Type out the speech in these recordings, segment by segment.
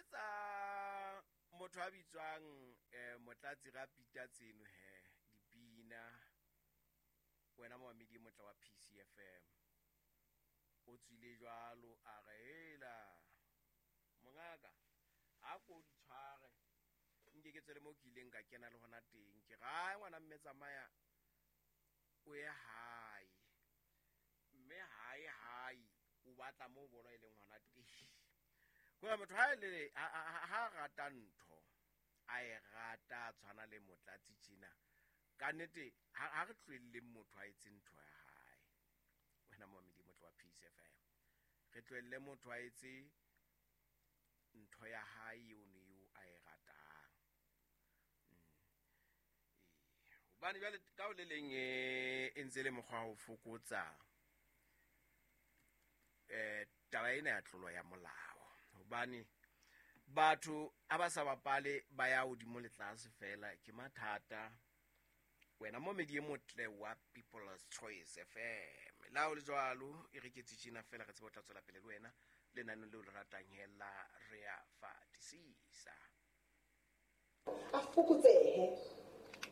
Letsetsa motho a bitswang Motlatsi Rapita tseno he dipina, wena momamedi e motle wa PCFM. O tswile jwalo a re hela mongaka a ko di tshware nke ke tswele mo ke ileng ka kena le hona teng. Ke ra ngwana mme tsamaya o ye hae, mme hae hae o batla mo bolo e leng hona teng. Kore motho ha le ha rata ntho a e rata tshwana le Motlatsi tjena, ka nnete ha re tlohelleng motho a etse ntho ya hae. Wena momamedi motle wa PCFM, re tlohelle motho a etse ntho ya hae eo ne eo a e ratang. Hobane jwale ka ho le leng e ntse le mokgwa wa ho fokotsa taba ena ya tlolo ya molao, hobane batho ha ba sa bapale ba ya hodimo le tlase fela ke mathata. Wena momedi e motle wa People's Choice FM, la o le jwalo e re ke tjena fela re tsebe ho tla tswela pele le wena lenaneng leo le ratang hela re a fatisisa. A fokotsehe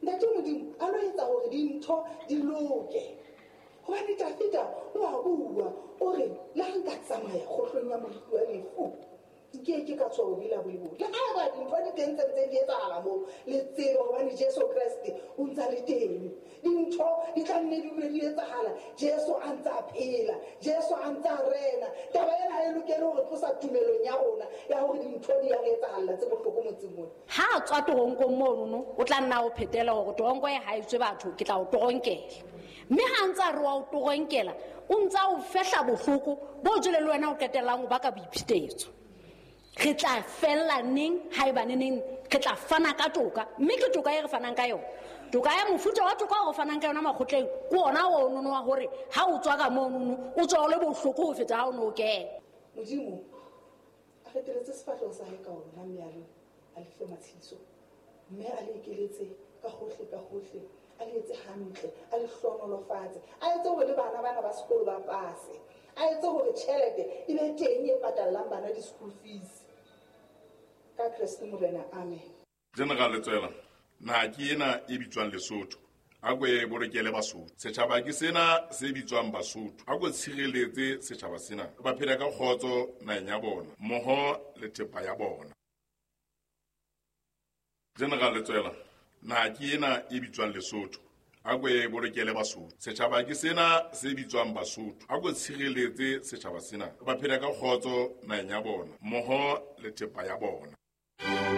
Ntate Modimo a lo etsa hore dintho di loke, hobane Dafida o a bua o re le ha nka tsamaya kgohlong ya moriti wa lefu nke ke ka tswa bobe la bolebo. Le haeba dintho di teng tse ntseng di etsahala moo, le tsebe hobane Jesu Kreste o ntsa le teng. Dintho di tla nne di dule di etsahala, Jesu a ntse a phela, Jesu a ntse a rena. Taba ena ha e lokele hore tlosa tumelong ya rona ya hore dintho di ya re etsahalla tse bohloko motseng mona. Ha a tswa toronkong monono, o tla nna o phetela hore toronko e ha e tswe batho, ke tla o toronkela. Mme ha ntse a re wa o toronkela, o ntse a o fehla bohloko bo jwale le wena o qetellang o baka boiphetetso. Re tla fella neng haeba neneng re tla fana ka toka, mme ke toka e re fanang ka yona. Toka ya mofuta wa toka o re fanang ka yona makgotleng ke ona o nono wa hore ha o tswa ka monono o tswa o le bohloko ho feta ha o no kena. Modimo a feteletse sefahleho sa hae ka ona, mme a le a le fe matshediso, mme a le ekeletse ka hohle ka hohle, a le etse hantle, a le hlohonolofatse, a etse hore le bana bana ba sekolo ba pase, a etse hore tjhelete e be teng e patallang bana di-school fees. Ka Kreste Morena, amen. General Letsoela, naha ke ena e bitswang Lesotho, a ko e bolokele Basotho. Setjhaba ke sena se bitswang Basotho, a ko tshireletse setjhaba sena, ba phele ka kgotso naheng ya bona mmoho le thepa ya bona. General Letsoela, naha ke ena e bitswang Lesotho, a ko e bolokele Basotho. Setjhaba ke sena se bitswang Basotho, a ko tshireletse setjhaba sena, ba phele ka kgotso naheng ya bona mmoho le thepa ya bona.